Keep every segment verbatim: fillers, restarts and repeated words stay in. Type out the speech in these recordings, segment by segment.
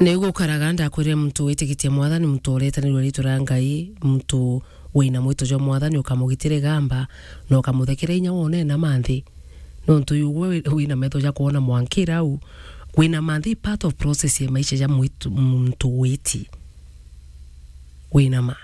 Ni gukaraga ndakwire muntu witikitie Mwathani, muntu uretanirwe riitwa ria Ngai, muntu wina mwito jwa Mwathani, ukamugitira igamba na ukamuthekera inya wone na manthi. Nontu ugwe wi-, wina metho ja kwona mwankira au, wina manthi part of process ya maisha ja mwitu-, muntu witi. Wina ma.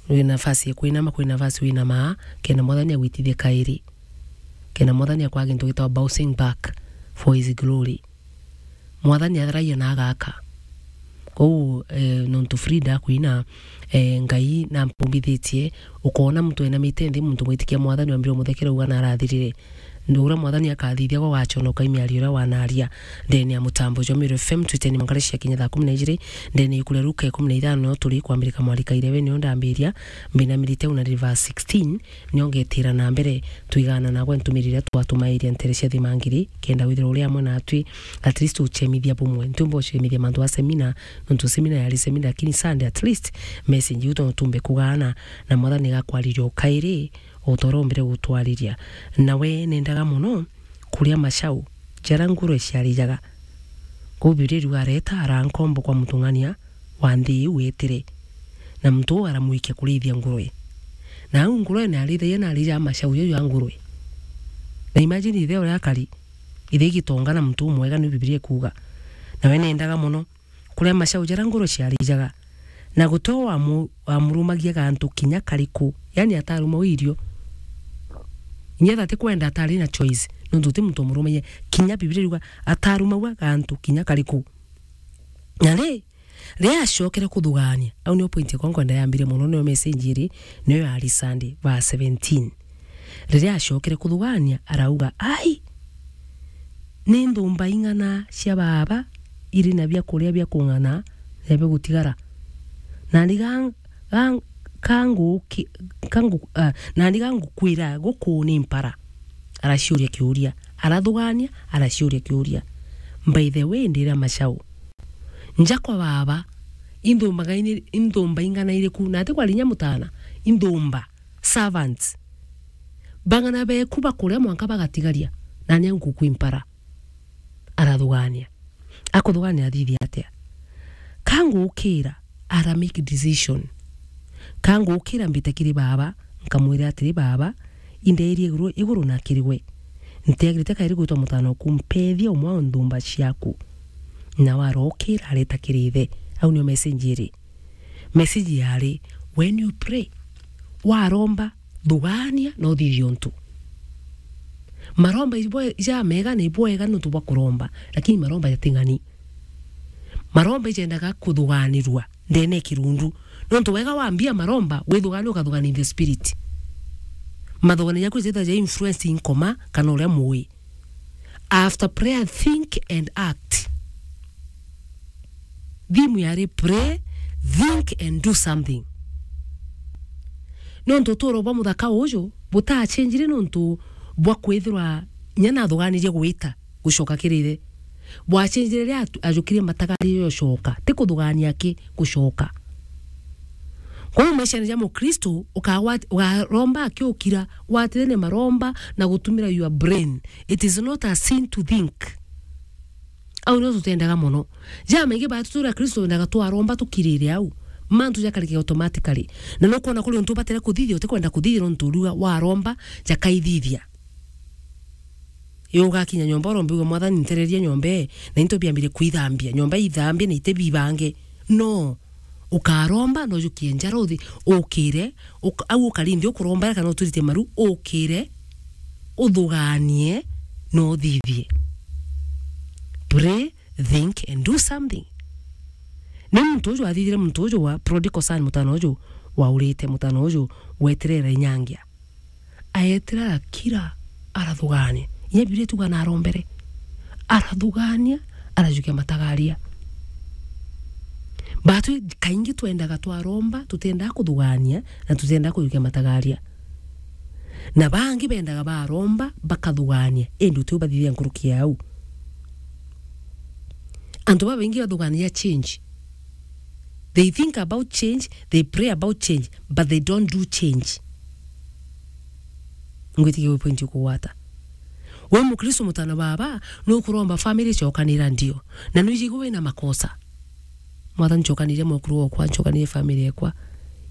Wina nafasi ya kwinama, kwina nafasi wina ma, kenda Mwathani agwitithie kairi. Kenda Mwathani akwa gintu gitagwa bouncing back for his glory. Mwathani atharagia na agaka. Kou, eh, nontu Frida akwina, eh, Ngai nampumbithitie, ukoona muntu enamite nthi, muntu mwitikia Mwathani wambire umuthekera uga narathirire. Uria Mwathani akathithia gwa wachonoka imiario uria wanaria. Ndene ya mutambo jwa Meru F M, twiteni mangare cia kinya thaa kumi na ijiri, ndene ya ikuria Luka ikumi na ithano, no turi kwambirika mwarika irebe nio ndambiria, mbinamirite una verse sixteen, nio ngetira na mbere, twigana nagwe ntumiri iria twatumairia ntere cia thimangiri, kenda withirwa uri amwe natwi, at least uchemithia bumwe. Ntiumba uchemithia mantu a semina, nontu semina yari semina, lakini Sunday at least message iu tontu tumbe kugaana, na Mwathani gakwariria ukairi, utoro mbere gutwariria. Nawe nendaga mono kuria macau jaria ngurwe ciarijaga. Kou Bibilia iriuga, areta arankombo kwa mutung'ania wa nthi iu wetire, na muntu uu aramwikia kurithia ngurwe. Na au ngurwe ni arithagia na arijaga macau jau ja ngurwe. Na imagine ithe uria akari, ithe igitonga na muntu umwega, ni Bibilia ikuuga. Nawe nendaga mono kuria macau jaria ngurwe ciarijaga, na guti o wamu-, wamurumagia gantu kinya kariku, yani ataruma irio. Inya ethira atikwenda atari na choice, nontu ti muntu umurumagia. Kinya Bibilia iriuga atarumagua gantu kinya kariku. Na ri, riria acokere kuthugaania, au niyo point yakwa nkwenda yambire mono, niyo message iri, niyo yari Sunday, verse seventeen. Riria acokere kuthugaania, arauga, "Ai, ni nthumba ing'ana cia baaba iri na biakuria bia kung'ana na bia gutigara? Nani ga-, ga-, ka nguki-, ka ngu-, ah, nani ga ngukwira guku ni mpara?" Araciuria kiuria. Arathugaania, araciuria kiuria. By the way, ndira macau, nja kwa baaba, inthumba gaini-, inthumba ing'ana iriku? Na ati kwari inya mutana, inthumba, servants. Bang'ana beku bakuria mwanka bagatigaria, na ni anguku impara. Arathugaania. Akuthugaania athithia atia? Ka ngukira, ara make decision. Ka ngukira mbite kiri baaba, nkamwira atiri, "Baaba, indairie iguru, iguru na kiri gwe. Ntiagirite kairi gwitwa mutana oku, mpethia umwe wa nthumba ciaku." Na warokira areta kiri ithe. Au niyo message iri. Message yari, when you pray, waromba, thugaania na uthithie untu. Maromba ibwe-, jamega na ibwega nontu bwa kuromba, lakini maromba jating'ani. Maromba ijendaga kuthuganirua ndene ya kirundu. Nontu wega wambia maromba, withugania ukathugania in the spirit. Mathugania jaku jethira ja influence nkoma kana uria mui. After prayer, think and act. Thimu yari pray, think and do something. Nontu uturo bwa muthaka uju butachenjire nontu bwa kwithirwa inya nathuganirie gwita gucoka kiri ithe. Bwachenjire riria atu-, ajukirie matagari gucoka, ti kuthugania ki gucoka. Kwou maishani ja Mukristo, ukagwat-, ukaromba akiukira, gwatire ni maromba na gutumira your brain. It is not a sin to think. Au nio tutendaga mono. Jamaingi ba tutura Kristo wendaga twaromba tukirire au. Mantu jakarike automatically. Na nukwona kuri untu ubatire kuthithia, utikwenda kuthithia nontu uriuga waromba, jakaithithia. Yo ugakinya nyomba urombe uga, "Mwathani, ntereria nyomba ii, na into biambire kwithambia. Nyomba ithambie na ite bibange." No. Ukaromba, na ujukie njara uthi, ukire, uk-, au ukarindi ukurombera kana uturite maru, ukire, uthuganie, na uthithie. Pray, think and do something. Ni muntu uju athithire, muntu uju wa prodigal son, mutana uju waurite, mutana uju wetirera inyangia. Aetira arakira, arathugania. Inya Bibilia ituga narombere. Arathugania, arajukia matagaria. Batwi kaingi twendaga twaromba, tutendaga kuthugania, na tutendaga kujukia matagaria. Na bangi bendaga baromba, bakathugania, indi utiu bathithia nkuruki ya au. Antu babaingi bathuganagia change. They think about change, they pray about change, but they don't do change. Ngwitikia wi point ukugwata. We Mukristo mutana baba, nukuromba family icokanira ndio. Na nuijigwe wina makosa. Mwathani, ncokanirie mwekuru okwa, ncokanirie family ekwa.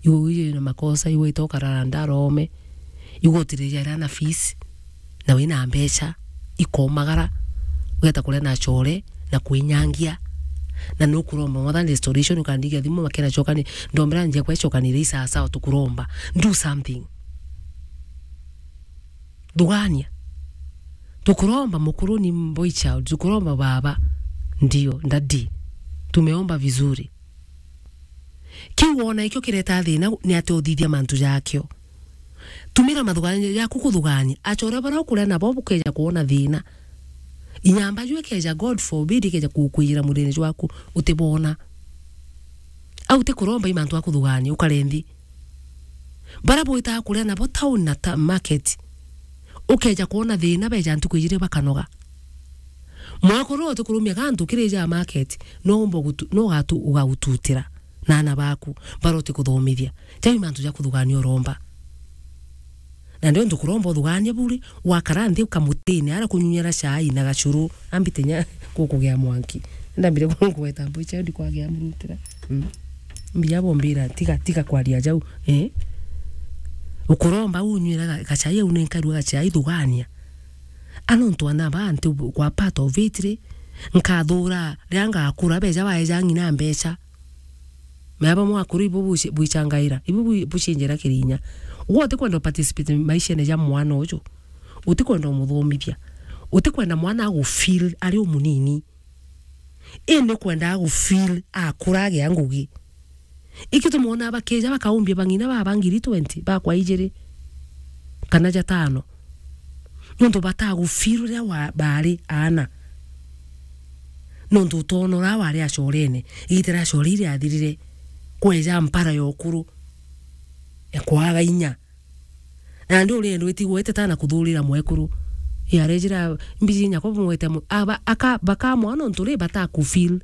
Iwe wiji na makosa, iwe itokarara ndarome. Iwe utiriria ria na fees, na wina mbeca, ikomagara, ugeta kuria na chore, na kwinyangia. Na nukuromba, Mwathani, restoration, ukandigia thimu, makena chokani, ndombera njia kwe chokanire isasawa, tukuromba. Do something. Thugania. Tukuromba mukuru ni boy child, tukuromba baba. Ndio, daddy. Tumeomba vizuri. Kiu wona ikio kireta thina ni ati uthithia mantu jakio. Tumira mathuganio jaku kuthugania. Achore bara ukuria nabo bukeja kuona thina. Inyamba ju ikeja, God forbid, ikeja kukwijira mwirine jwaku, utibona. Au ti kuromba i mantu a kuthugania, ukare nthi. Bara bwitaga kuria nabo town na ta-, market, ukeja kwona thina, beja ntuku ijiri bakanoga. Mwekuru uti kurumia gantu kirija market, no umba gutu-, no ugatu-, ugaututira na ana baku, bara uti kuthomithia. Jau i mantu ja kuthugania uromba. Na ndio ntukuromba uthugania buri, wakara nthi ukamutine, ara kunyunyera chai na gachuru, ambite nya gukugia mwanki. Ndambire kugweta mbucha, ndi kwagia murutira. Mm. Mbia bombira, tiga, tiga kwaria jau, eh? Ukuromba unywira ga-, gachai au ni nkarua gachai thugania. Ano ntu ana ba nti kwa part of it ri, nkathura ria ngakura beja baeja ng'ina mbecha. Mea bamwe akuru ibo buci-, bwichangaira, ibo bwi-, bucinjira kirinya. Gwe utikwenda uparticipate maishene ja mwana uju. Utikwenda umuthomithia. Utikwenda mwana agufeel ari umunini. Indi ukwenda agufeel akura agia ngugi. Ikio tumwona bakija bakaumbia bang'ina baba ngiri twenty, bakwa ijiri, kana jatano. Nontu batagufeel uria wa-, bari aana. Nontu utonora wari acorene, igita ria core iriathirire, kweja mpara ya ukuru, ya kwaga inya. Nandi urienda witigwete ta na kuthurira mwekuru. Yarejira mbiji nyakwa bumwete mu-, aba-, aka-, bakamwa nontu ri batakufeel.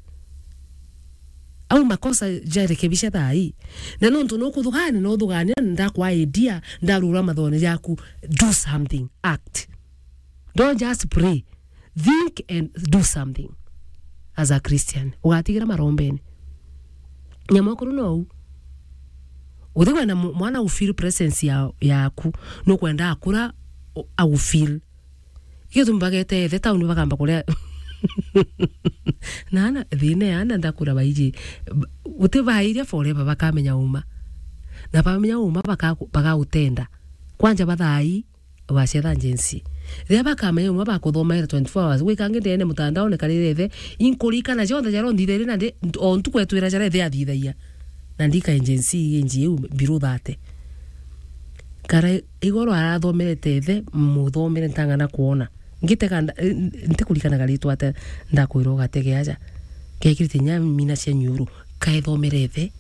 Au makosa jarekebisha thaa hii. Na nontu nukuthugania, no uthugania, ndakwa idea, ndarura mathone jaku, do something, act. Don't just pray. Think and do something as a Christian. Ugatigira marombene. Nyamwekuru nou. Utikwenda mu-, mwana u feel presence ya, yaku. Nukwenda akura, u-, au feel. Ikio tumi bagete ethe town bakamba kuria. Na ana, thina ya ana ndakura baiji. B-, uti bairia forever bakamenya uma. Na bamenya uma baka-, bagautenda. Kwanja bathai, wacetha Gen Z. Riria bakamenya uma bakuthomaira twenty-four hours. Gwikangi ndene mutandaone karire ethe. Inkurikana cionthe jaria unthithirie na ndi, o ntuku etwira jaria ethe athithagia. Na ndika Gen Z age iu below thirty. Kara igoro arathomerete ethe, muthomere ntang'ana kwona. Ngitega nda-, eh, ntikurikanaga ritwa ate ndakwirwa ugatege aja. Gekirite nya mina cia nyuru, kaethomere ethe.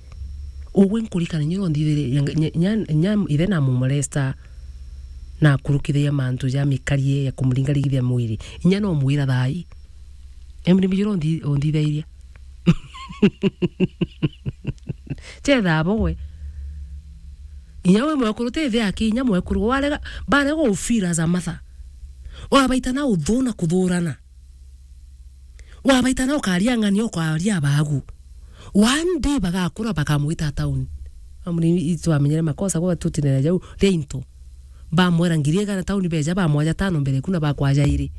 Ugwe nkurikana nyiro nthithirie, nya, nya, nya, nya ithe na mumolesta, na kurukithiria mantu ja mikarie ya kumuringaringithia mwiri. Inya no mwira thai. Emri mijiro nthi-, unthithairia. Chetha abo gwe. Inya we mwekuru ti thi aki, inya mwekuru warega, barega u feel as a mother. Wabaita na uthu na kuthurana. Wabaita na ukaria ng'ania, ukaria abagu. One day bagakura bakamwita town. Amuri itwamenyere makosa gwa tutinera jau ria into. Bamwera ngiri igana town beja, bamwaja tano mbere kuna bakwaja iri.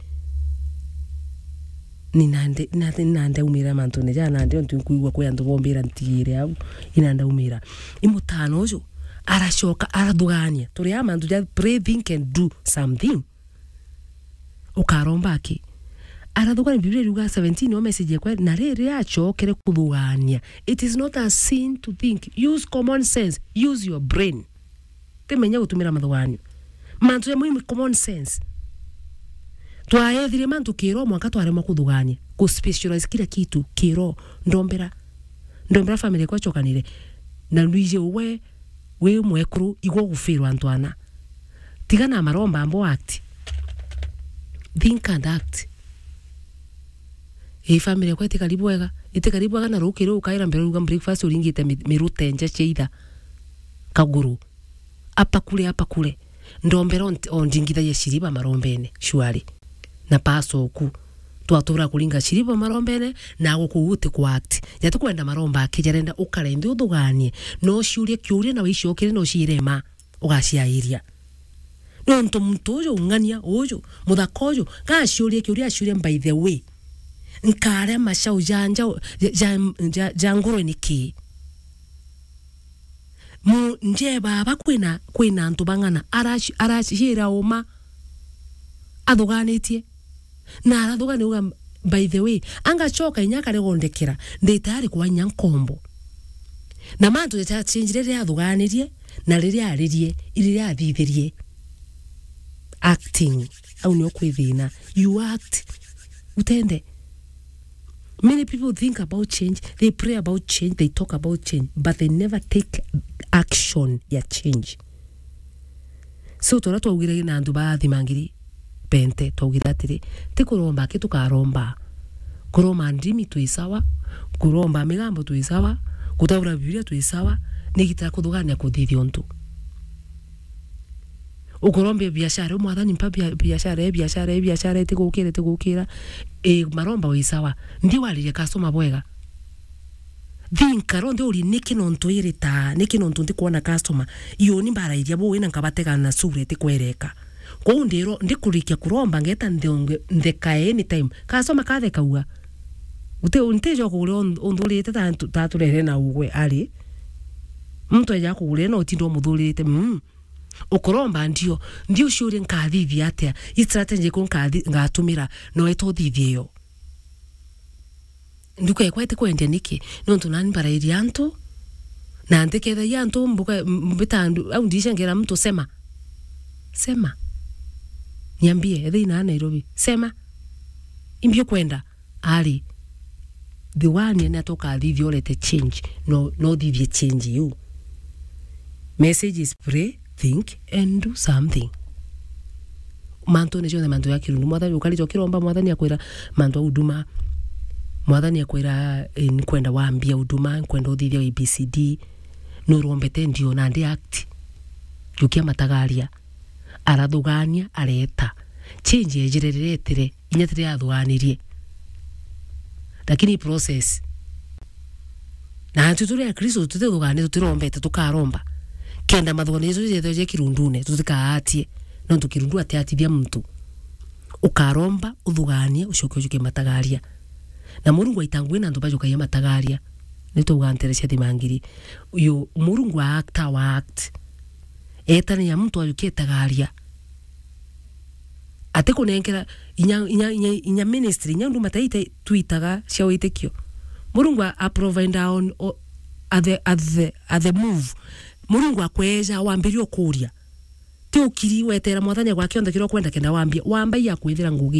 Ni nande, nande, nande umira mantune ja nande ontu nkuigua kwi antu bombira ntigire au. Inande umira. Imutano uju aracoka arathugania. Turi a mantu ja pray, think and do something. Ukaromba aki? Arathugania, Biblia iriuga seventeen, o message ekwe, na riri acokere kuthugania. It is not a sin to think. Use common sense. Use your brain. Timenya gutumira mathuganio. Mantu ja muhimu, common sense. Twaethirie mantu kiro mwanka twaremwa kuthugania. Ku specialize kila kitu kiro. Ndombera. Ndombera family kwa chokanire. Na luije uwe wi mwekuru, igwe ugufirwa antu ana. Tiga na maromba ambo act. Think and act. Ii family yakwa itikari bwega. Itikari bwega na rukiri ukaira mbere uruga breakfast uringite mi-, mirute nja cia itha. Kaguru. Apakure, apakure. Ndombera ont-, ondingithagia shiriba marombene, shwari. Na paso oku. Twatura kuringa shiriba marombene, na guku uti ku act. Jati kwenda maromba aki jarenda ukare nthi uthuganie. No ciurie kiuria na wicokere no ciire ma ugaciairia. Nontu muntu uju, ng'ania uju, muthaka uju, gaciurie kiuria aciuria, by the way, nkaria macau ja, ja, ja, ja, ja ngurwe niki? Mu, nje baba kwina, kwina antu bang'ana, araci-, aracira uma athuganitie. Na arathugania uga, by the way, angacoka inya akaregondekera, ndi tayari kwa inya nkombo. Na mantu jachenjire riria athuganirie, na riria aririe, riria athithirie. Acting. Au nio kwi thina. You act. Utende. Many people think about change, they pray about change, they talk about change, but they never take action ya change. So, turia twaugire na antu ba thimangiri pente, twaugire atiri, ti kuromba aki tukaromba. Kuromba ndimi twi sawa, kuromba migambo twi sawa, gutaura Biblia twi sawa, ni gita kuthugania kuthithia untu. Ukorombia biashara, u mwathani mpa bia-, biashara, e biashara, e biashara, itigukira, itigukira. E, maromba wi sawa. Ndi wariria customer bwega. Thinka ro ndi uri niki nontu iritaa, niki nontu ndikwona customer. Iyo ni mbarairia buu na nkabatega na sura itikwereka. Kwou ndiro, ndikurikia kuromba ngeta nthonge, ntheka anytime. Customer katheka uga. Uti, ntijo kugura un-, unthurite ta ntu-, ta turere na ugwe ari. Muntu eja kugura na utinda umuthuririte. Mm. Ukuromba ndio, ndio uciurie nkathithia atia? I strategy ku nkathi-, ngatumira, no eto uthithie yo. Nduka ekwa iti kwendia niki? Nontu nani mbarairia antu, na ntikethagia antu mbuka, m-, mbita ndu-, au ndicengera muntu sema. Sema. Niambie, ethei na Nairobi. Sema. Imbi ukwenda? Ari, the one ni atoka athithia urete change, no, no thithie change iu. Message is pray, think and do something. Mantu ni jonthe, mantu ya kirundu. Mwathani ukarite ukiromba, mwathani akwira mantu ya huduma. Mwathani akwira, eh, nkwenda wambia huduma, nkwenda uthithia A B C D. Nurombete ndio na ndi act. Jukia matagaria. Arathugania, areta. Change ejire riria etire, inya tiri athuganirie. Lakini process. Na antu turi Akristo tutithugania, tutirombete, tukaromba. Kenda mathuganio jetu jethwe je kirundune, tutikaatie. Nontu kirundu atiatithia muntu. Ukaromba, uthuganie, ucoke ujuke matagaria. Na Murungu aita ngugi na antu bajukagia matagaria. Ni twauga ntere cia thimangiri. Uyu Murungu a act, wa act. Etania muntu ajukia itagaria. Ati kunenkera inya, inya, inya, inya ministry, inya nduma taite twitaga cia witikio. Murungu a, a provide on, o, at the, at the, at the move. Murungu akweja wambiria ukuria. Ti ukiri wetera mwathani agwa kionthe kiria ukwenda kenda wambia. Wamba ya kwithira ngugi.